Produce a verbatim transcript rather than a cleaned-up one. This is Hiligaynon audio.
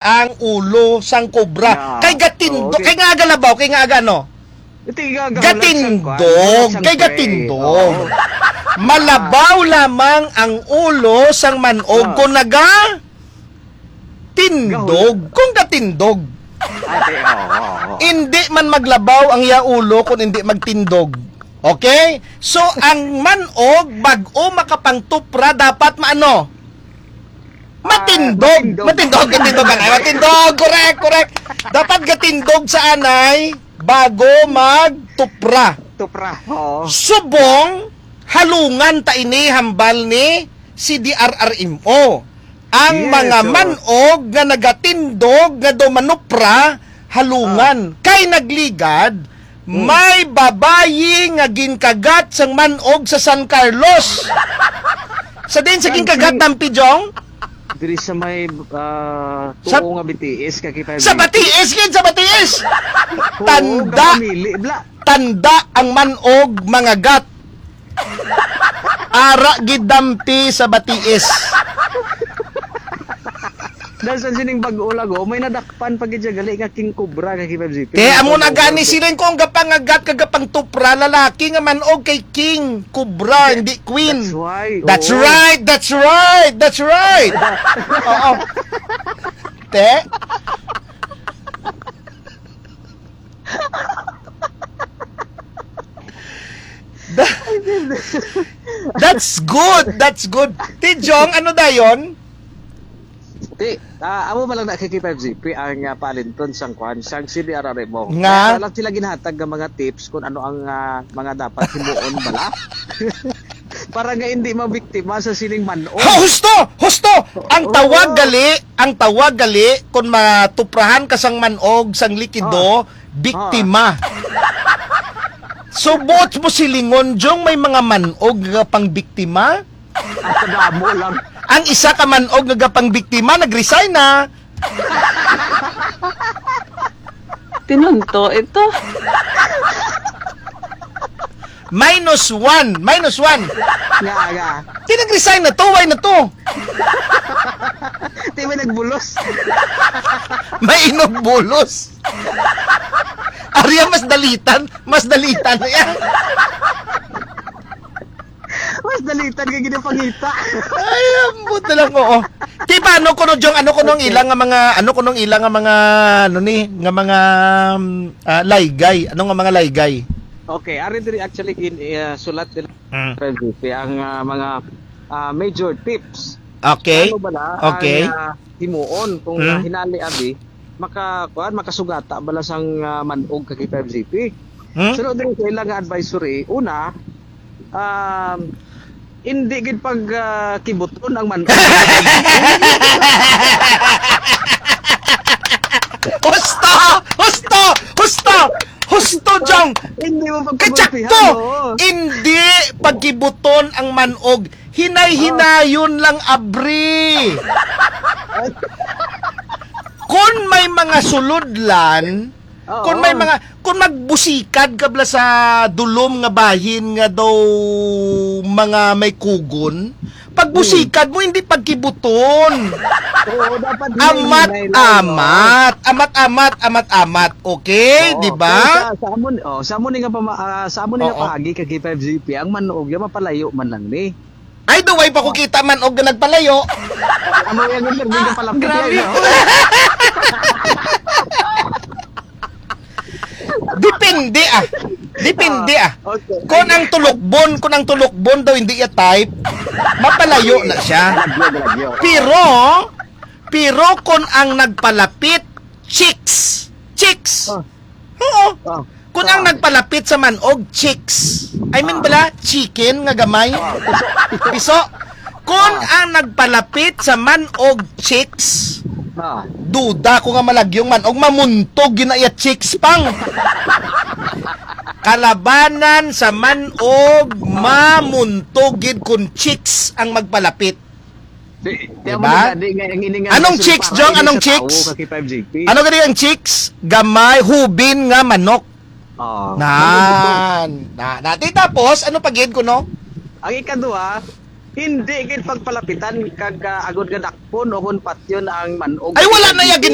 ang ulo sang kobra. Yeah. Kay gatindo, Oo, okay. Kay nga aga labaw, kay nga aga ano? Ito, iga-, aga, Gatindog, walang sang kay prey. Gatindog. Oo. Malabaw lamang ang ulo sang man-og Ah. kung naga tindog, Gahul- kung gatindog. Ate, oo, oo, oo. Hindi man maglabaw ang iya ulo kung hindi magtindog. Okay? So, ang man-og, bag-o makapangtupra, dapat maano? Ah, Matindog. Matindog. Matindog, matindog, anay. Matindog. Correct, correct. Dapat gatindog sa anay bago magtupra. Tupra. Oo. Subong, halungan ta ini hambal ni C D R R M O. Ang Yes, mga oo. man-og nga nagatindog nga daw manupra, halungan. Ah. Kay nagligad, Hmm. may babayi nga ginkagat sang man-og sa San Carlos. Sa din sa Saan ginkagat, si Dampi Jong? Diri sa may, ah, Sa tuo nga B T S, ka kita Sa dito. Batiis, gid, sa Batiis! Oo, Tanda! kapamili, bla. Tanda ang man-og mangagat. Ara gid Dampi sa Batiis. Dahil sa sining bag-o lago, may nadakpan pa gid siya gali nga King Cobra kay K five Z P. Kaya amo na gani siling ko ang gapangagat kag gapangtupra lalaki nga man-og kay King Cobra, hindi Queen. That's why. That's Oo. right, that's right, that's right. Oo. Te? Tha-, that's good. That's good. Ti Jong, ano dayon? Ti, ah, amo man lang na kay K five Z P ang, ah, palinton sang kwan, sang C D R R M O. Nga? Kaya lang sila ginhatag nga mga tips kung ano ang, ah, mga dapat himuon bala. Para nga hindi mabiktima sa sining man-og. Ha, husto! Husto! Ang Oo. tawag gali, ang tawag gali, kung matuprahan ka sang man-og, sang likido, Ah. biktima. Ah. So, buot mo silingon, Jong, may mga man-og nga pangbiktima? Ang kadamo lang. Ang isa ka man-og nga gapangbiktima, nag-resign na. Tinunto ito. Minus one. Minus one. Nga, nga. Di nag-resign na to. Why na to? Di ba nagbulos? May inugbulos. Ariya, mas dalitan. Mas dalitan na yan. Mas dalitan ka ginapangita. Ay, ambot na lang, oo. Ti paano kuno, Jong, ano kuno ang Okay. ilang nga mga, ano kuno ang ilang nga mga, ano ni, nga mga, um, ah, laygay? Ano nga mga laygay? Okay, ari diri actually gin-, ah, sulat nila Mm. Friend G P ang, ah, mga, ah, major tips. Okay. Ano ba na Okay. ang, ah, himuon kung, Mm. ah, hinali abi maka-, kuan, makasugata bala sang, ah, man-og ka K five Z P. Hmm? Sunod din sa ilang advisory, una, um, hindi gid pag, ah, kibuton ang man-og. Husto! Husto! Husto! Husto, Jong! Hindi mo pagkagulpihan, Kachakto! Oo. Hindi pagkibuton ang man-og. Hinay-hinayon lang, abri. Kung may mga sulodlan, Oo. kung may mga, kung magbusikad ka bala sa dulom nga bahin nga daw mga may kugon, pagbusikad mo, hindi pagkibuton. Oo, dapat hinay-hinay lang, no? Amat-amat. Amat-amat, amat-amat. Okay, Oo, di ba? Pero sa, sa amon, oh, sa amon nga pama-, ah, sa amon nga Oo. paagi kag K five Z P, ang man-og, yung mapalayo man lang ni. Ay, duway pa ko kita man og nagpalayo. Amo yan, yung pwede ka pala Ah, grabe. Palayo. Depende, ah. Depende, ah. Ah, okay. Kung ang tulukbon, kung ang tulukbon daw hindi iya type, mapalayo na siya. Lagyo, lagyo. Pero, pero kung ang nagpalapit, chicks. Chicks. Ah. Oo. Ah. Kung ang Ah. nagpalapit sa man-og, chicks. I mean, Ah. bala, chicken nga gamay. Ah, piso. Piso. Kung Ah. ang nagpalapit sa man-og, chicks, Ah. duda ko nga malagyong man-og, mamuntog yun na iya chicks pang. Kalabanan sa man-og, Ah. mamuntog gid kung chicks ang magpalapit. Di, di Diba? amo na, di nga, ang ini nga Anong nagsulod chicks, para Jong? ini Anong sa chicks? tao, ka K five G P. Ano gani ang chicks? Gamay, hubin nga manok. Oo. Nan. Na, na, di tapos, ano pa gid kuno? Ang ikaduha, Hindi gid pagpalapitan kag ah, agod nga dakpon o kon patyon ang manog. Ay, wala na ya Dito.